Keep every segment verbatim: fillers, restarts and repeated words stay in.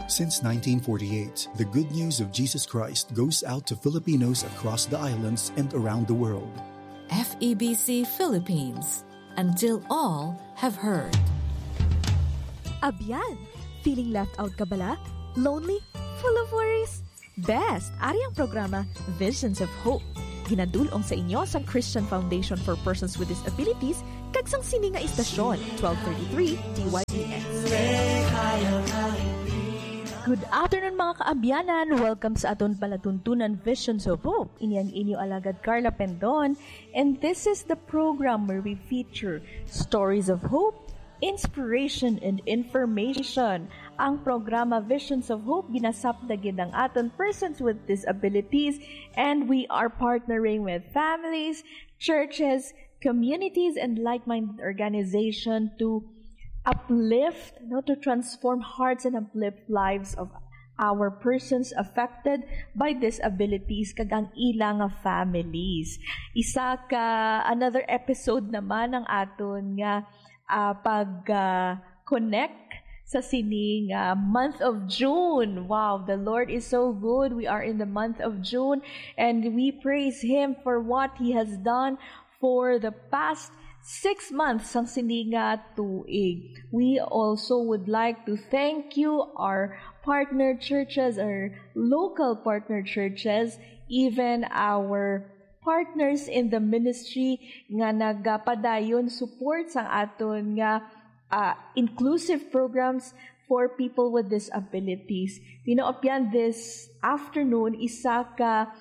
Since nineteen forty-eight, the good news of Jesus Christ goes out to Filipinos across the islands and around the world. F E B C Philippines, until all have heard. Abyan, feeling left out ka bala? Lonely? Full of worries? Best! Ari ang programa Visions of Hope. Ginadulong sa inyo sang Christian Foundation for Persons with Disabilities kag sang sini nga istasyon, twelve thirty-three D Y B S. Good afternoon, mga kaabyanan. Welcome sa aton palatuntunan, Visions of Hope. Ini ang inyo alagad, Carla Pendon, and this is the program where we feature stories of hope, inspiration, and information. Ang programa Visions of Hope ginasapta gid ang aton persons with disabilities, and we are partnering with families, churches, communities, and like-minded organization to uplift, no, to transform hearts and uplift lives of our persons affected by disabilities kag ang ila nga families. Isa ka another episode naman ang aton nga ah, pag ah, connect sa sining ah, month of June. Wow, the Lord is so good. We are in the month of June, and we praise Him for what He has done for the past six months sang sini nga tuig. We also would like to thank you, our partner churches, our local partner churches, even our partners in the ministry nga nagapadayon support sang aton nga ah, inclusive programs for people with disabilities. You know, Abyan, this afternoon, isa ka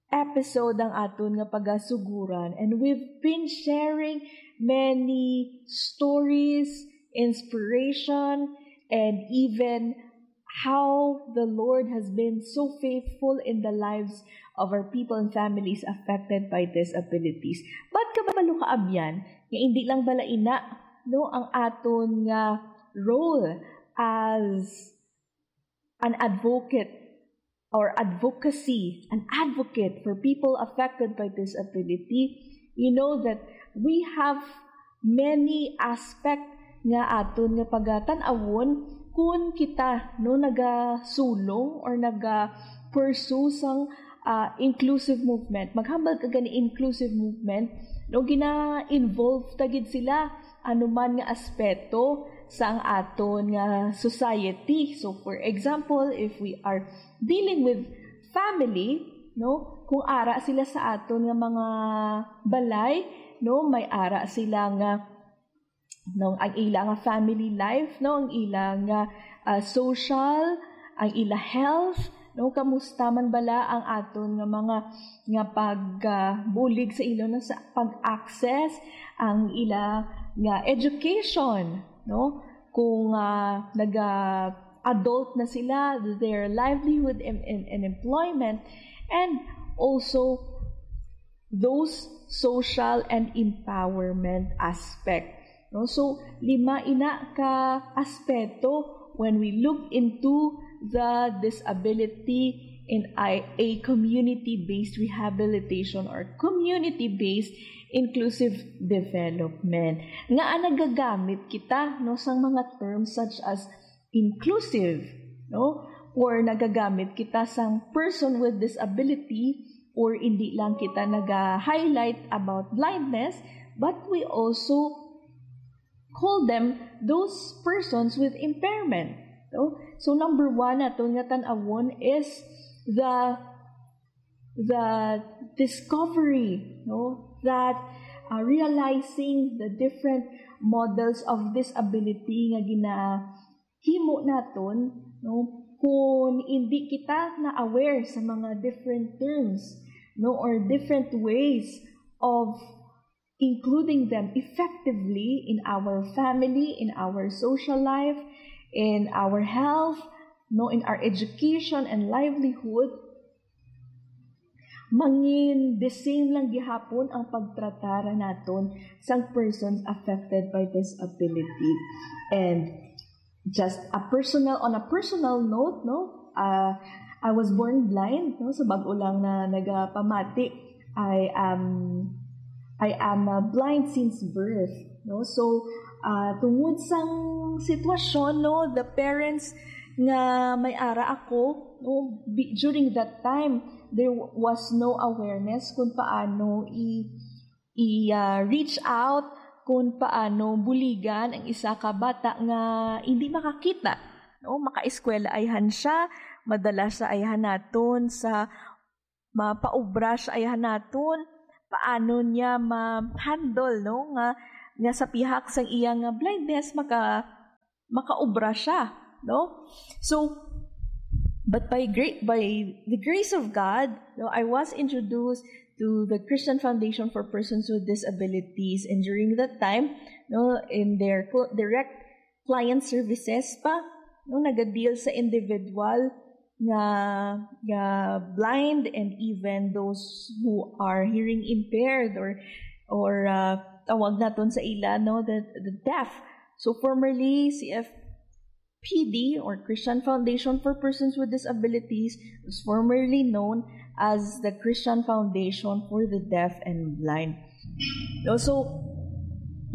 episode ang aton nga pagasuguran, and we've been sharing many stories, inspiration, and even how the Lord has been so faithful in the lives of our people and families affected by disabilities. But kabalo ka, Abyan, nga hindi lang bala ina, no, ang aton nga role as an advocate or advocacy, an advocate for people affected by disability, you know that we have many aspect nga aton nga pagatan-awon kun kita, no, nagasulong or naga-pursue sang ah, inclusive movement. Maghambal ka gani inclusive movement, no, gina-involve ta gid sila anuman nga aspeto sang aton nga society. So, for example, if we are dealing with family, no, kung ara sila sa aton nga mga balay, no, may ara sila nga, no, ang ila nga family life, no, ang ila nga ah, social, ang ila health, no, kamusta man bala ang aton nga mga nga pag ah, bulig sa ila, no, sa pag-access, ang ila nga education, no, kung ah, naga adult na sila, their livelihood and, and, and employment, and also those social and empowerment aspect. No? So, lima ina ka aspeto when we look into the disability in a, a community-based rehabilitation or community-based inclusive development. Nga nagagamit kita, no, sang mga terms such as inclusive, no? Or nagagamit kita sang person with disability, or hindi lang kita naga-highlight about blindness, but we also call them those persons with impairment. No? So number one naton nga tan-awon is the the discovery, no, that uh, realizing the different models of disability nga ginahimo naton, no, kung hindi kita na-aware sa mga different terms, no, or different ways of including them effectively in our family, in our social life, in our health, no, in our education and livelihood, mangin the same lang gihapon ang pagtratar naton sang persons affected by disability. And just a personal, on a personal note, no, uh, I was born blind, no, sa bag-o lang na nagapamati. I am I am uh, blind since birth, no. So uh, tungod sang sitwasyon, no, the parents nga may ara ako, no, bi-, during that time, there w-, was no awareness kung paano i-, i-, ah, reach out, kung paano buligan ang isa ka bata nga hindi makakita, no? Makaeskwela ayhan siya, madala siya ayhan naton sa mapaobra siya ayhan naton, paano niya ma-handle, no, nga, nga sa pihak sang iya nga blindness, maka-, makaobra siya, no? So, but by great, by the grace of God, no, I was introduced to the Christian Foundation for Persons with Disabilities, and during that time, no, in their co-, direct client services pa, no, nagadeal sa individual nga, nga blind and even those who are hearing impaired or, or, uh, tawag naton sa ila, no, the, the deaf. So formerly, C F P D or Christian Foundation for Persons with Disabilities was formerly known as the Christian Foundation for the Deaf and Blind. No, so,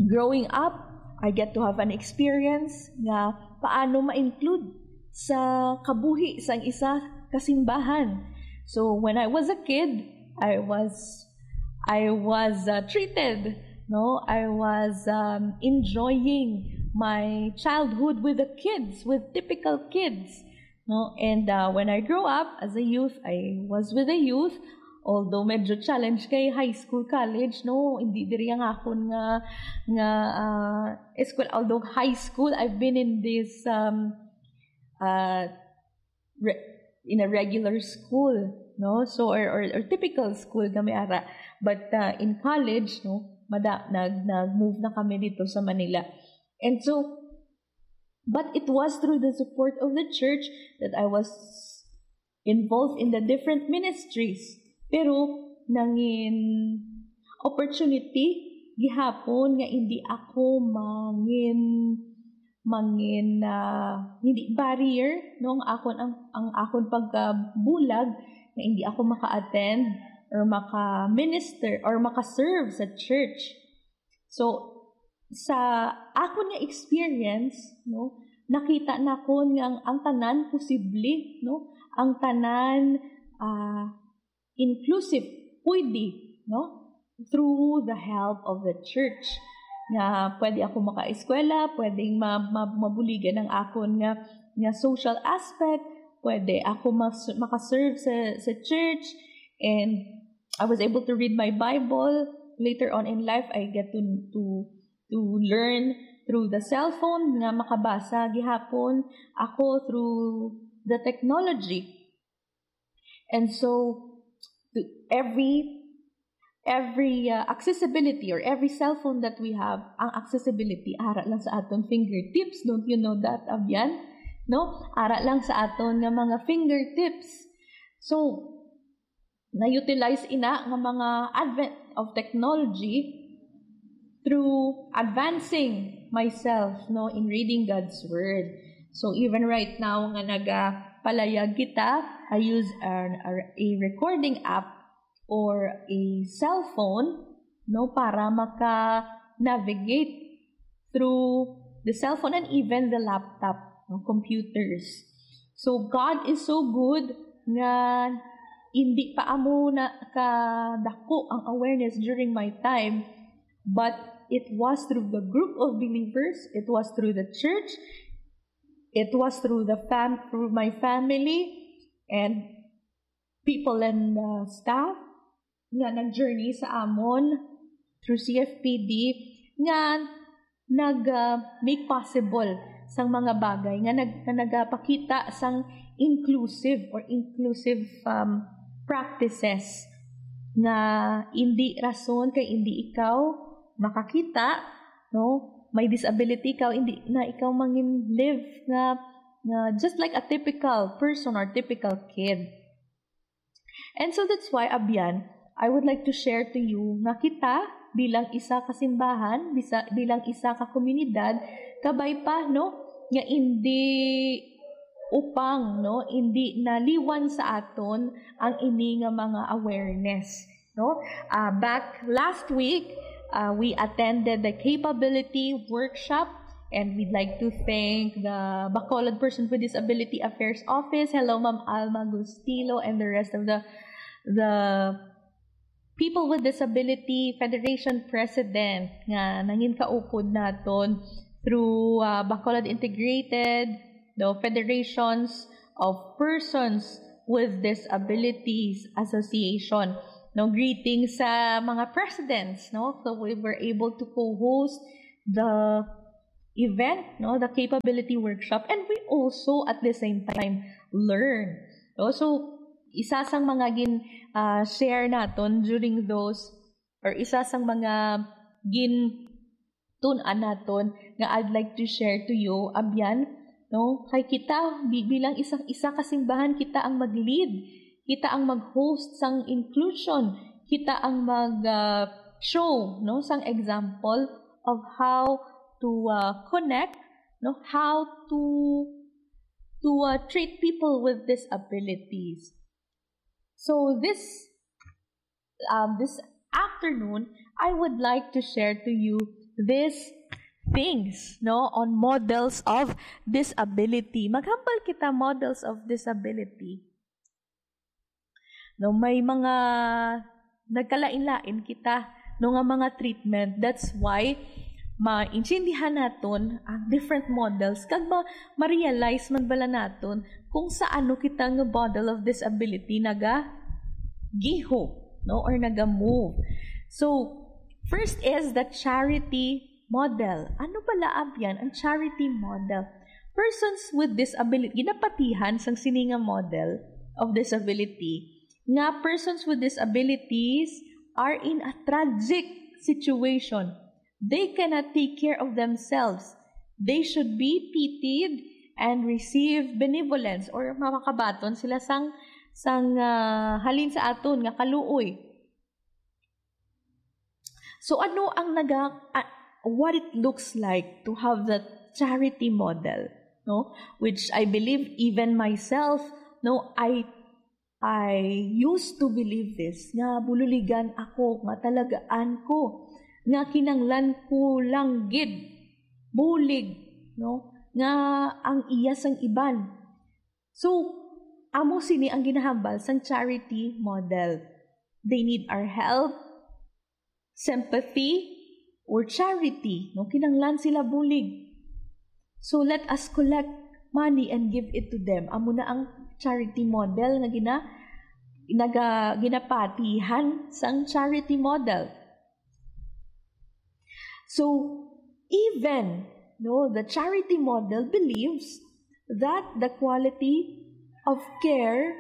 growing up, I get to have an experience nga paano ma-include sa kabuhi sang isa ka simbahan. So, when I was a kid, I was, I was, uh, treated, no? I was, um, enjoying my childhood with the kids, with typical kids, no? And, uh, when I grew up as a youth, I was with the youth. Although medyo challenge kay high school, college, no? Hindi diri ang akon nga, nga, uh, school. Although high school, I've been in this, um, uh, re-, in a regular school, no? So, or, or, or typical school kami ara. But, uh, in college, no, mada-, nag-, nag-move na kami dito sa Manila. And so, but it was through the support of the church that I was involved in the different ministries. Pero nangin opportunity gihapon nga hindi ako mangin, mangin, ah, hindi barrier, no, ang akon, ang, ang akon pagkabulag nga hindi ako maka-attend or maka-minister or maka-serve sa church. So, sa akon nga experience, no, nakita nakon nga ang, ang tanan posible, no, ang tanan, ah, inclusive, pwede, no, through the help of the church. Nga pwede ako makaeskwela, pwedeng ma-, ma-, mabuligan ang akon nga, nga social aspect, pwede ako mas-, makaserve sa, sa church, and I was able to read my Bible. Later on in life, I get to, to, to learn through the cellphone nga makabasa gihapon ako through the technology. And so, to every, every, uh, accessibility or every cellphone that we have, ang accessibility, ara lang sa aton fingertips. Don't you know that, Abyan? No? Ara lang sa aton nga mga fingertips. So, na-utilize ina nga mga advent of technology through advancing myself, no, in reading God's Word. So even right now nga nagapalayag kita, I use an, a, a recording app or a cell phone, no, para maka-navigate through the cell phone and even the laptop, no, computers. So God is so good nga hindi pa amo na kadako ang awareness during my time, but it was through the group of believers, it was through the church, it was through the fam-, through my family and people and, uh, staff nga nag-journey sa amon through C F P D nga nag, uh, make possible sang mga bagay nga nag-, nga nagapakita sang inclusive or inclusive, um, practices nga hindi rason kay hindi ikaw makakita, no? May disability ikaw, hindi na ikaw mangin live nga, nga just like a typical person or typical kid. And so that's why, Abyan, I would like to share to you nga kita bilang isa ka simbahan, bisa, bilang isa ka komunidad, kabay pa, no, nga indi upang, no, indi naliwan sa aton ang ini nga mga awareness, no? Ah, back last week, ah, we attended the capability workshop And we'd like to thank the Bacolod Person with Disability Affairs Office. Hello, Ma'am Alma Gustilo, and the rest of the the People with Disability Federation President nga nangin kaupod naton through uh, Bacolod Integrated, the Federations of Persons with Disabilities Association. No, greetings sa mga presidents, no? So we were able to co-host the event, no, the capability workshop, and we also at the same time learn. No? So isa sang mga gin uh, share naton during those, or isa sang mga gin tun-an naton nga I'd like to share to you, abyan, no? Kay kita, bi- bilang isang isa ka simbahan, kita ang mag-lead, kita ang mag-host sang inclusion, kita ang mag uh, show, no, sang example of how to uh, connect, no, how to to uh, treat people with disabilities. So this um, this afternoon, I would like to share to you these things, no, on models of disability. Maghambal kita models of disability. No, may mga nagkalain-lain kita, no, nga mga treatment. That's why maintindihan naton ang different models kag ma- ma-realize man bala naton kung sa ano kita nga model of disability naga giho, no, or naga move. So first is the charity model. Ano pala abyan ang charity model? Persons with disability, ginapatihan sang sini nga model of disability nga persons with disabilities are in a tragic situation. They cannot take care of themselves. They should be pitied and receive benevolence, or makakabaton sila sang sang uh, halin sa aton nga kaluoy. So ano ang naga uh, what it looks like to have that charity model, no? Which I believe even myself, no, I I used to believe this, nga bululigan ako, nga talagaan ko, nga kinanglan ko lang gid bulig, no, nga ang iya sang iban. So amo sini ang ginahambal sang charity model. They need our help, sympathy, or charity, no? Kinanglan sila bulig. So let us collect money and give it to them. Amo na ang charity model nga gina naga ginapatihan sang charity model. So even, no, the charity model believes that the quality of care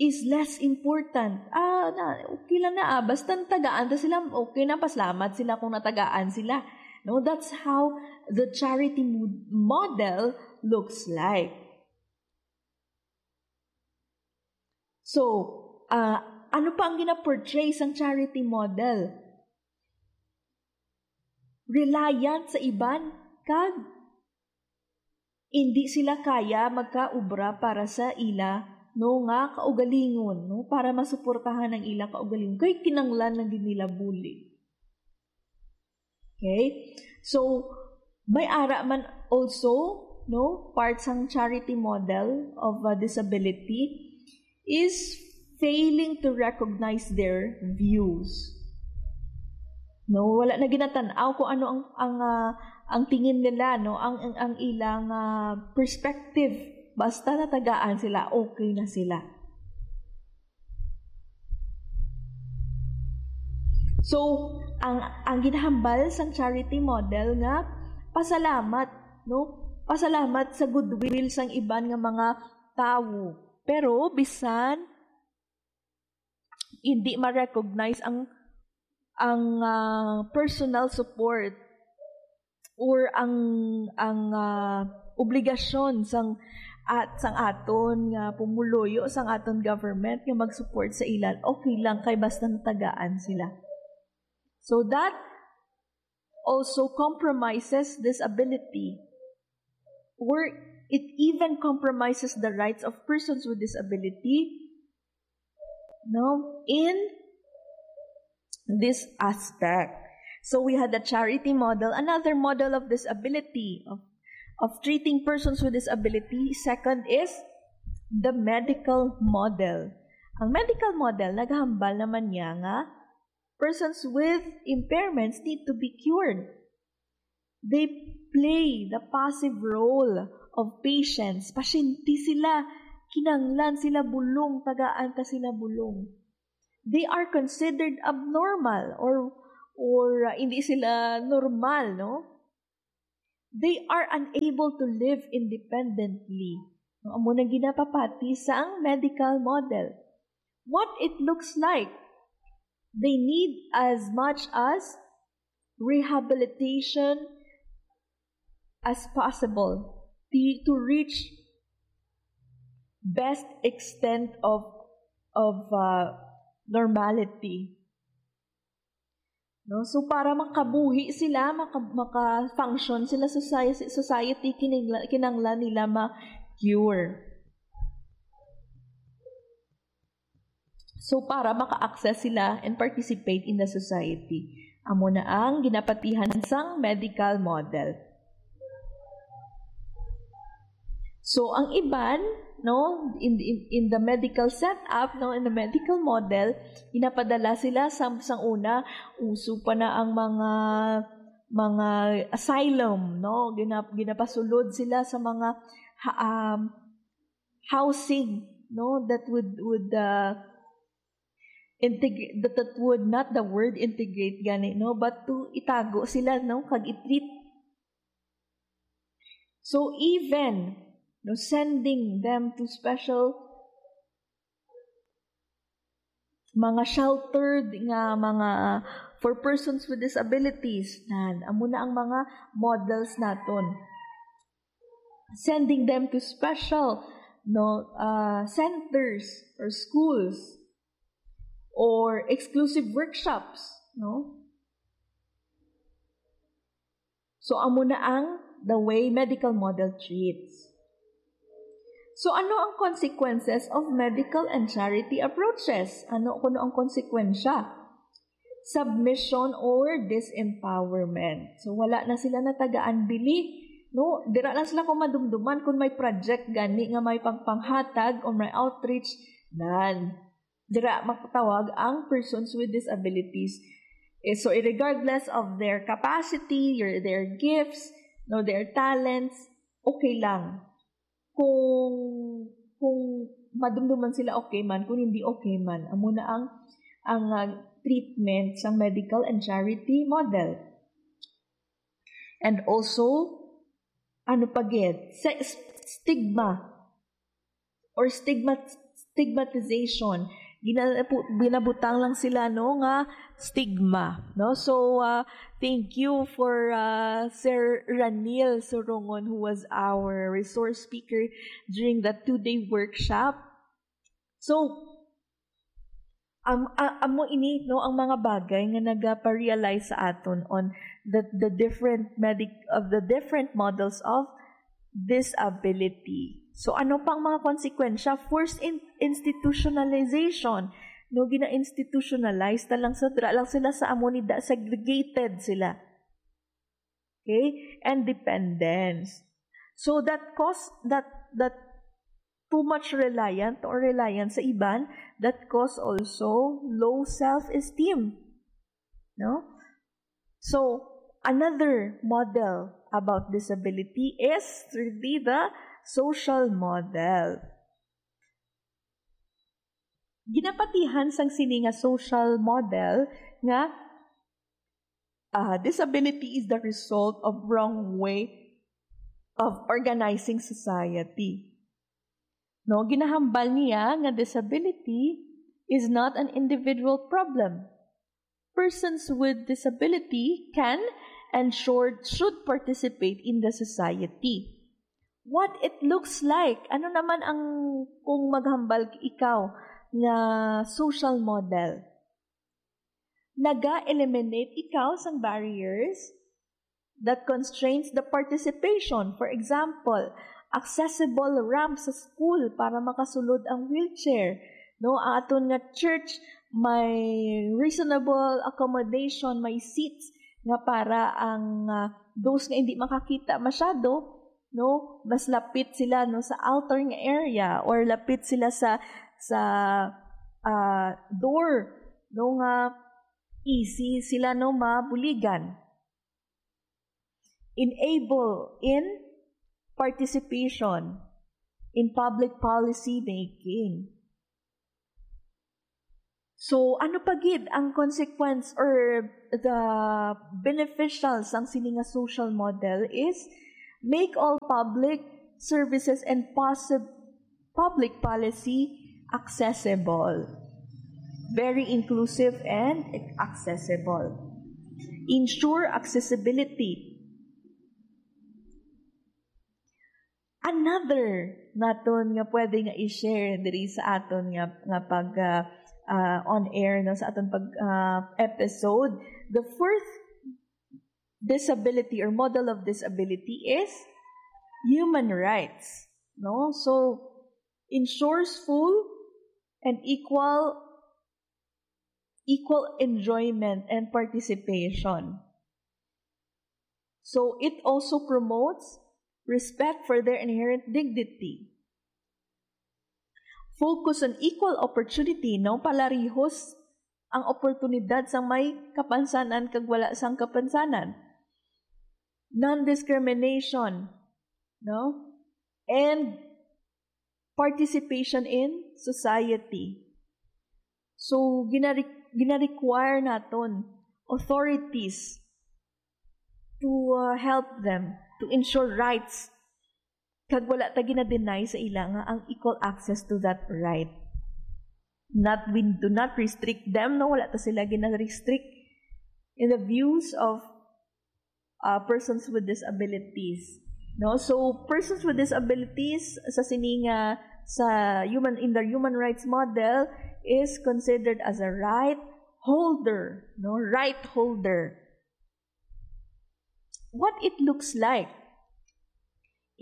is less important. Ah, na, okay lang na, ah, basta natagaan ta sila, okay na, pasalamat sila kung natagaan sila. No, that's how the charity mo- model looks like. So, ah, ano pa ang gina-portray sang charity model? Reliant sa iban kag hindi sila kaya magkaubra para sa ila, no, nga kaugalingon, no, para masuportahan ang ila kaugalingon. Kay kinanglan lang gid nila bulig. Okay? So, may ara man also, no, part sang charity model of uh, disability is failing to recognize their views. No, wala na ginatan-aw kung ano ang ang uh, ang tingin nila, no, ang ang, ang ilang uh, perspective. Basta natagaan sila, okay na sila. So, ang ang ginahambal sang charity model nga pasalamat, no? Pasalamat sa goodwill sang iban nga mga tawo. Pero bisan hindi ma-recognize ang ang uh, personal support or ang ang uh, obligasyon sang at sang aton nga pumuluyo sang aton government nga mag-support sa ilan, okay lang kay basta natagaan sila. So that also compromises disability, or it even compromises the rights of persons with disability, no, in this aspect. So we had the charity model, another model of disability, of, of treating persons with disability. Second is the medical model. Ang medical model, naghambal naman niya nga persons with impairments need to be cured. They play the passive role of patients. Pasyente sila, kinanglan sila bulong, tagaan ta sila bulong. They are considered abnormal or or uh, hindi sila normal, no? They are unable to live independently. No, amo nang ginapapati sang medical model. What it looks like, they need as much as rehabilitation as possible to, to reach best extent of of uh, normality. No? So, para makabuhi sila, maka, maka-function sila sa society, society kinangla, kinanglan nila ma-cure. So, para maka-access sila and participate in the society. Amo na ang ginapatihan sang medical model. So, ang iban, no, in, in, in the medical setup, no, in the medical model, ginapadala sila sa, sang una, uso pa na ang mga, mga asylum, no, ginap, ginapasulod sila sa mga ha, um, housing, no, that would, would, uh, integrate, that, that would not the word integrate gani, no, but to itago sila, no, kag i-treat. So even, no, sending them to special mga sheltered nga mga for persons with disabilities, nan, amo na ang mga models naton. Sending them to special, no, uh, centers or schools or exclusive workshops, no? So, amo na ang the way medical model treats. So, ano ang consequences of medical and charity approaches? Ano kuno ang konsekwensya? Submission or disempowerment. So, wala na sila natagaan bili, no? Dira lang sila kung madumduman kung may project gani nga may pagpanghatag or may outreach, nan. Dira makatawag ang persons with disabilities. Eh, so, regardless of their capacity, your, their gifts, no, their talents, okay lang. Kung, kung madumduman sila okay man, kung hindi okay man, amo na ang, ang uh, treatment sa medical and charity model. And also, ano pa gid? Sa stigma or stigmat stigmatization. Ginapu- ginabutang lang sila, no, nga stigma, no? So, uh, thank you for uh, Sir Ranil Surongon, who was our resource speaker during the two-day workshop. So, um, uh, amo ini, no, ang mga bagay nga nagaparealize sa aton on the, the different medic of the different models of disability. So, ano pang mga konsekwensya? Forced in, institutionalization. No, gina-institutionalize na lang sa dira lang sila sa amo ni da, segregated sila. Okay? And dependence. So that cause that that too much reliant or reliance sa iban, that cause also low self-esteem. No? So, another model about disability is really the social model. Ginapatihan sang sini nga social model nga uh, disability is the result of wrong way of organizing society. No, ginahambal niya nga disability is not an individual problem. Persons with disability can and should, should participate in the society. What it looks like? Ano naman ang kung maghambal ikaw nga social model? Naga-eliminate ikaw sang barriers that constrains the participation. For example, accessible ramp sa school para makasulod ang wheelchair. No, ang aton nga church may reasonable accommodation, may seats nga para ang, ah, those nga hindi makakita masyado, no, mas lapit sila, no, sa altar nga area or lapit sila sa, sa, ah, door, no, nga easy sila, no, mabuligan. Enable in participation in public policy making. So, ano pa gid ang consequence or the beneficial sang sini nga social model is make all public services and possib-, public policy accessible, very inclusive and accessible. Ensure accessibility. Another naton nga pwede nga i-share diri sa aton nga, nga pag, ah, ah, on air, no, sa aton pag, ah, episode, the fourth disability or model of disability is human rights, no? So, ensures full and equal, equal enjoyment and participation. So, it also promotes respect for their inherent dignity. Focus on equal opportunity, no? Palarihos ang oportunidad sang may kapansanan kag wala sang kapansanan. Non-discrimination, no? And participation in society. So, ginare-, gina-require naton authorities to, uh, help them to ensure rights. Kag wala ta gina-deny sa ila nga ang equal access to that right. Not, we do not restrict them, no? Wala ta sila gina-restrict in the views of, uh, persons with disabilities. No? So, persons with disabilities sa sini nga, sa human, in the human rights model is considered as a right holder, no? Right holder. What it looks like.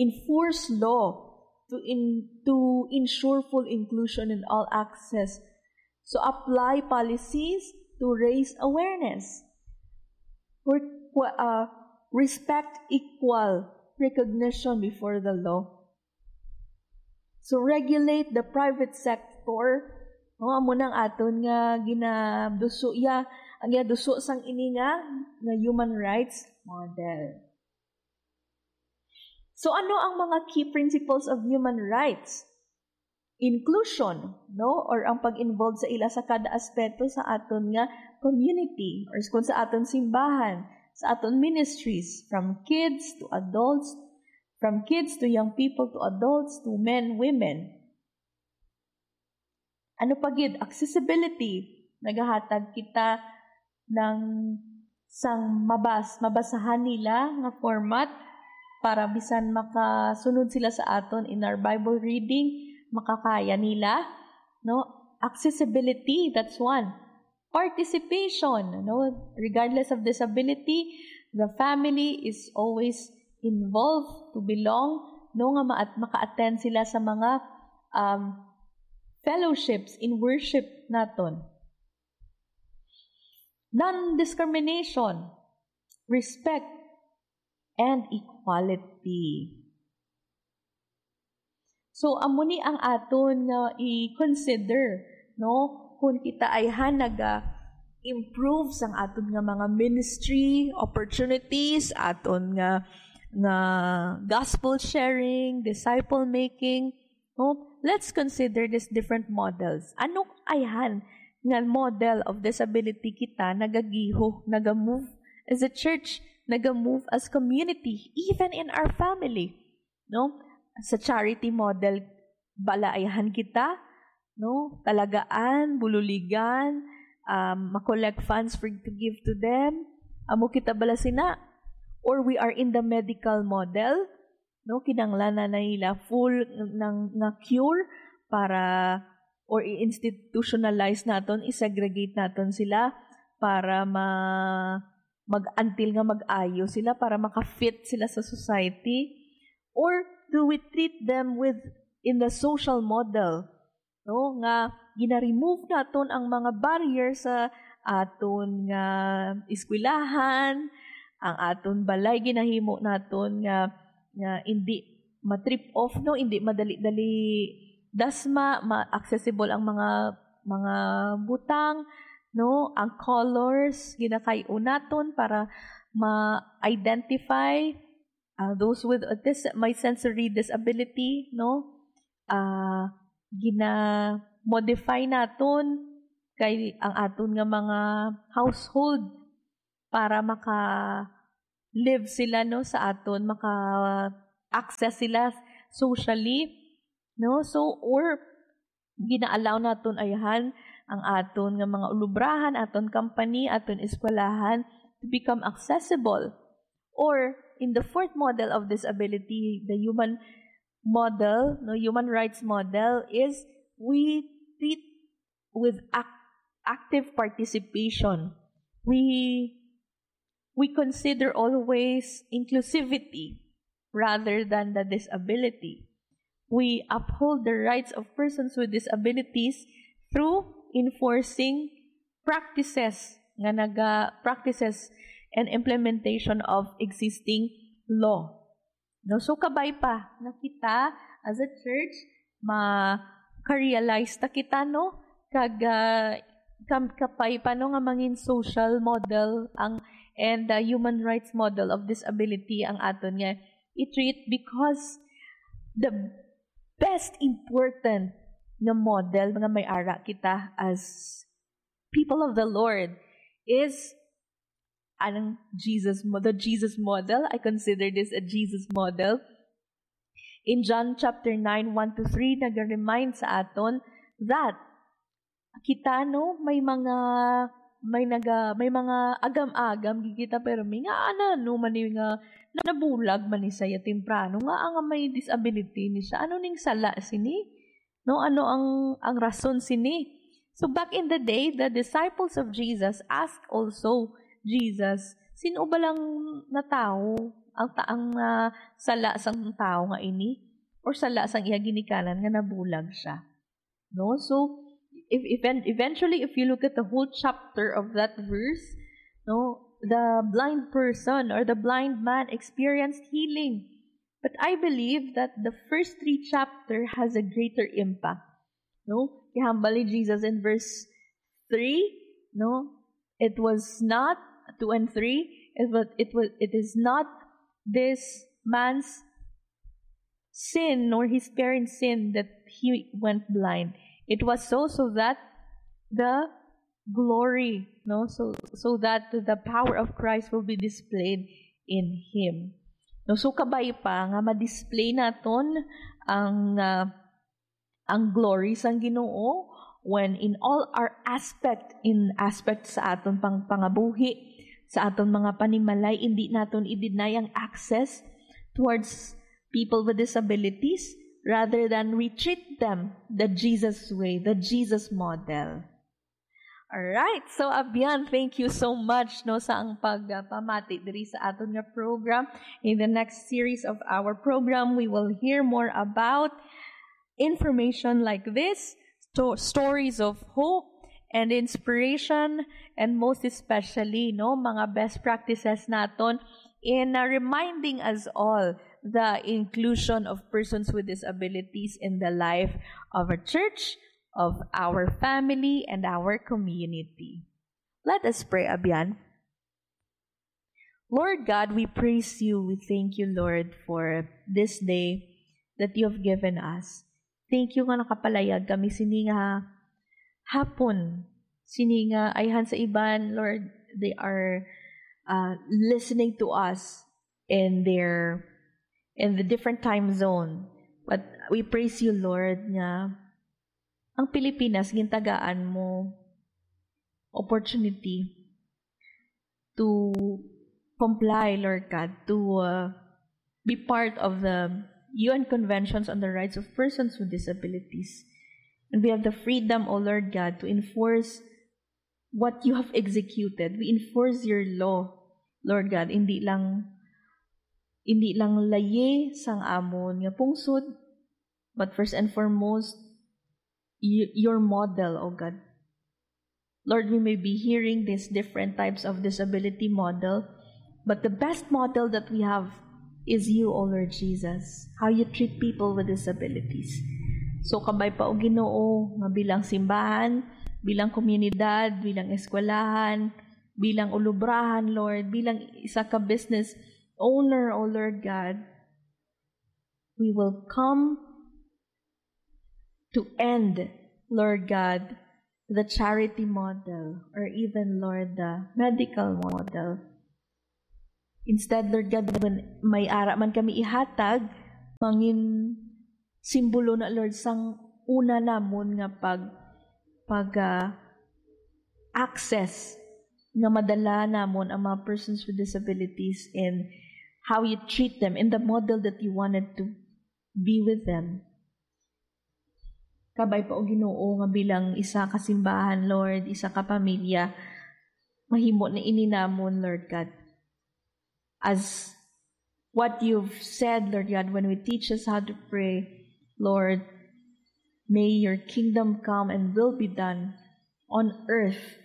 Enforce law to in-, to ensure full inclusion and all access. So apply policies to raise awareness. Requ-, uh, respect equal recognition before the law. So regulate the private sector. No, amo nang aton nga ginaduso ya, ang ginaduso sang ini nga, nga human rights model. So, ano ang mga key principles of human rights? Inclusion, no? Or ang pag-involve sa ila sa kada aspeto sa aton nga community, or kung sa aton simbahan, sa aton ministries, from kids to adults, from kids to young people to adults to men, women. Ano pa gid? Accessibility. Nagahatag kita ng sang mabas-, mabasahan nila nga format para bisan makasunod sila sa aton in our Bible reading, makakaya nila, no? Accessibility, that's one. Participation, no? Regardless of disability, the family is always involved to belong, no? Nga ma-, maka-attend sila sa mga, um, fellowships in worship naton. Non-discrimination, respect, and equality. So, amo ni ang aton nga i-consider, no? Kung kita ayhan naga-improve sang aton nga mga ministry opportunities, aton nga, nga gospel sharing, disciple making, no? Let's consider these different models. Ano ayhan nga model of disability kita nagagiho, naga-move as a church, naga-move as community, even in our family, no? Sa charity model, bala ayhan kita, no? Talagaan, bululigan, um, ma-collect funds for, to give to them. Amo kita bala sina? Or we are in the medical model, no? Kinahanglan na nila full ng, nga cure para, or i-institutionalize naton, i-segregate naton sila para ma-, mag-, until nga mag-ayo sila, para maka-fit sila sa society? Or do we treat them with, in the social model, no? Nga gina-remove naton ang mga barrier sa, aton nga eskwelahan, ang aton balay ginahimo naton nga, nga hindi ma-trip off, no, hindi madali-dali dasma, ma-, accessible ang mga, mga butang, no, ang colors ginakay-o naton para ma-identify, ah, those with autis-, may sensory disability, no, ah, gina-modify naton kay ang aton nga mga household para maka-live sila, no, sa aton, maka-access sila socially, no? So, or gina-allow naton ayhan ang aton nga mga ulubrahan, aton company, aton eskwelahan to become accessible. Or in the fourth model of disability, the human model, no, human rights model, is we treat with ac-, active participation. We, we consider always inclusivity rather than the disability. We uphold the rights of persons with disabilities through enforcing practices nga naga-, practices and implementation of existing law. No? So, kabay pa nga kita as a church, ma-realize ta kita, no? Kag, ah, kam-, kabay pa, no, nga mangin social model ang, and, ah, human rights model of disability ang aton nga i-treat, because the best important nga model nga may ara kita as people of the Lord is ang Jesus mo-, the Jesus model. I consider this a Jesus model. In John chapter nine, one to three, nag-remind sa aton that kita, no, may mga, may naga-, may mga agam-agam gid kita, pero may nga, ano, no, man ni nga nabulag man ni siya temprano, nga ang may disability ni siya. Ano ning sala sini? No, ano ang, ang rason sini? So, back in the day, the disciples of Jesus asked also Jesus, "Sino ba lang na tawo ang ta-, ang, ah, sala sang tawo nga ini, or sala sang iya ginikanan nga nabulag siya?" No? So, if, if, eventually, if you look at the whole chapter of that verse, no, the blind person or the blind man experienced healing. But I believe that the first three chapter has a greater impact. No? Ihambal ni Jesus in verse three, no? It was not, two and three, it was, it was, it is not this man's sin nor his parents' sin that he went blind. It was so, so that the glory, no? So, so that the power of Christ will be displayed in him. No, so kabay pa nga ma-display naton ang, ah, ang glory sang Ginoo when in all our aspect, in aspect sa aton pang pangabuhi, sa aton mga panimalay, hindi naton i-deny ang access towards people with disabilities, rather than we treat them the Jesus way, the Jesus model. Alright, so Abian, thank you so much, no, sa ang pagpamati diri sa aton nga program. In the next series of our program, we will hear more about information like this, sto-, stories of hope and inspiration, and most especially, no, mga best practices naton in, uh, reminding us all the inclusion of persons with disabilities in the life of a church, of our family, and our community. Let us pray, Abian. Lord God, we praise you. We thank you, Lord, for this day that you have given us. Thank you nga nakapalayag kami sini nga hapon. Sini nga ayhan sa iban, Lord, they are, uh, listening to us in their, in the different time zone. But we praise you, Lord, nga ang Pilipinas, gintagaan mo opportunity to comply, Lord God, to, uh, be part of the U N Conventions on the Rights of Persons with Disabilities. And we have the freedom, O Lord God, to enforce what you have executed. We enforce your law, Lord God. Hindi lang, hindi lang layi sang amon nga pungsod, but first and foremost, y-, your model, O God. Lord, we may be hearing these different types of disability model, but the best model that we have is you, O Lord Jesus, how you treat people with disabilities. So, kabay pa, O Ginoo, nga bilang simbahan, bilang komunidad, bilang eskwelahan, bilang ulubrahan, Lord, bilang isa ka business owner, O Lord God, we will come to end, Lord God, the charity model or even, Lord, the medical model. Instead, Lord God, when may ara man kami ihatag, mangin simbolo na, Lord, sang una namon nga pag, pag, ah, access nga madala namon ang mga persons with disabilities and how you treat them in the model that you wanted to be with them. Kabay pa, O Ginoo, nga bilang isa ka simbahan, Lord, isa ka pamilya, mahimo na ini namon, Lord God. As what you've said, Lord God, when we teach us how to pray, Lord, may your kingdom come and will be done on earth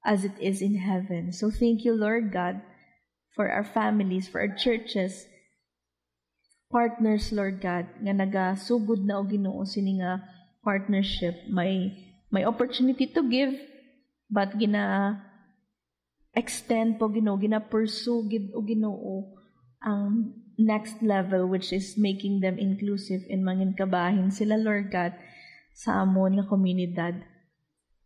as it is in heaven. So thank you, Lord God, for our families, for our churches, partners, Lord God, nga nagasugod na, O Ginoo, sini nga partnership. May, may opportunity to give, but gina-extend po, Ginoo, gina-pursue gid, O Ginoo, ang next level, which is making them inclusive and mangin kabahin sila, Lord God, sa amon nga komunidad.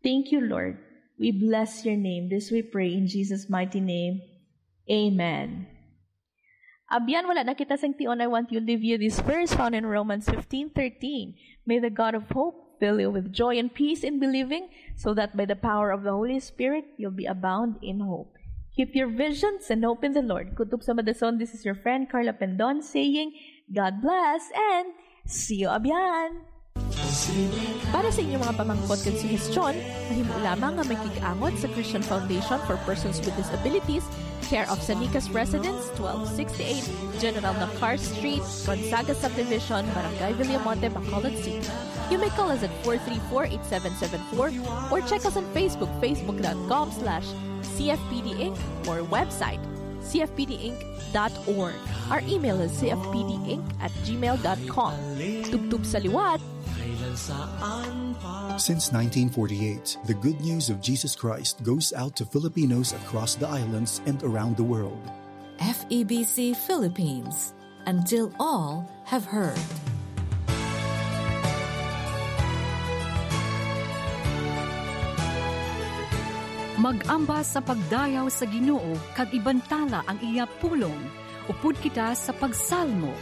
Thank you, Lord. We bless your name. This we pray in Jesus' mighty name. Amen. Abyan, wala na kita sing tion. I want you to leave you this verse found in Romans fifteen thirteen. "May the God of hope fill you with joy and peace in believing, so that by the power of the Holy Spirit, you'll be abound in hope." Keep your visions and hope in the Lord. Kutob sa Madason, this is your friend Carla Pendon saying, God bless and see you abyan! Para sa inyong mga pamangkot kag suhestyon, mahimo lamang nga makig-angot sa Christian Foundation for Persons with Disabilities, care of San Nicolas Residence, twelve sixty-eight General Nakar Street, Gonzaga Subdivision, Barangay Villamonte, Bacolod City. You may call us at four three four, eight seven seven four or check us on Facebook, facebook dot com slash C F P D Inc, or website, C F P D Inc dot org. Our email is C F P D Inc at gmail dot com. Tubtob sa liwat. Since nineteen forty-eight, the good news of Jesus Christ goes out to Filipinos across the islands and around the world. F E B C Philippines, until all have heard. Mag-ambas sa pagdayaw sa Ginoo kag ibantala ang iya pulong. Upod kita sa pagsalmo.